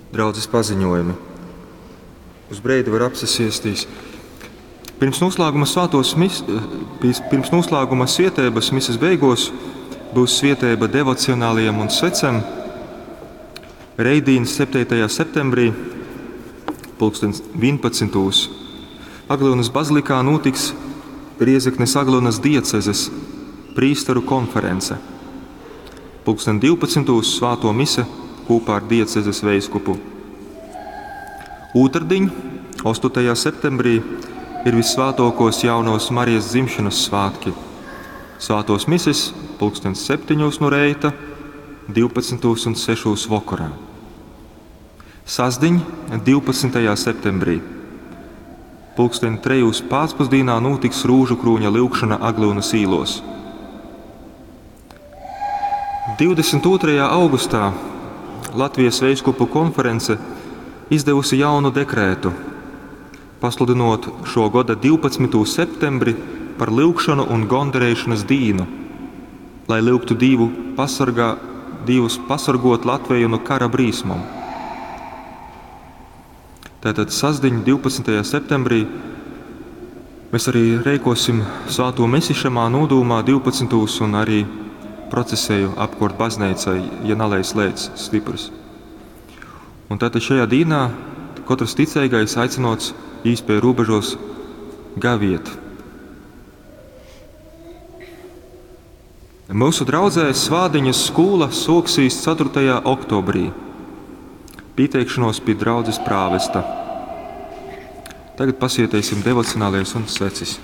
Draudzes paziņojumi. Uz breidi var apsasiestīs. Pirms noslēguma svētos mis, pirms noslēguma svietības mises beigos būs svietēba devocionāliem un svecem. Reidīn 7. septembrī, pulkstens 11. Aglyunas bazilikā notiks Riezeknes Aglyunas diecezes prīsteru konference. Pulksten 12. Svāto mise kopā ar diecezes veiskupu. Ūtrdiņ, 8. septembrī, ir visvētākos jaunos Marijas dzimšanas svētki. Svētos mises pulkstens 7 no reita, 12 un 6 vakarā. Sasdiņ, 12. septembrī, pulksten 3 pēcpusdienā notiks Rūžu krūņa lyugšana Aglyunas īlos. 22. augustā Latvijas veiskupu konference izdevusi jaunu dekrētu, pasludinot šo gada 12. septembri par lyugšanu un gondarēšanas dīnu, lai lyugtu Dievu pasargā, Dievus pasargot Latviju no kara brīsmom. Tātad sasdiņ 12. septembrī mēs arī reikosim svēto misi šamā nodūmā 12. un arī procesēju apkort baznīcai, ja nalais lēts stiprs. Un tātad šajā dīnā katrs ticīgais aicinots īspēju robežos gaviet. Mūsu draudzē Svādiņas skola soksīs 4. oktobrī. Pieteikšanos pie draudzes prāvesta. Tagad pasietēsim devocionālies un svecis.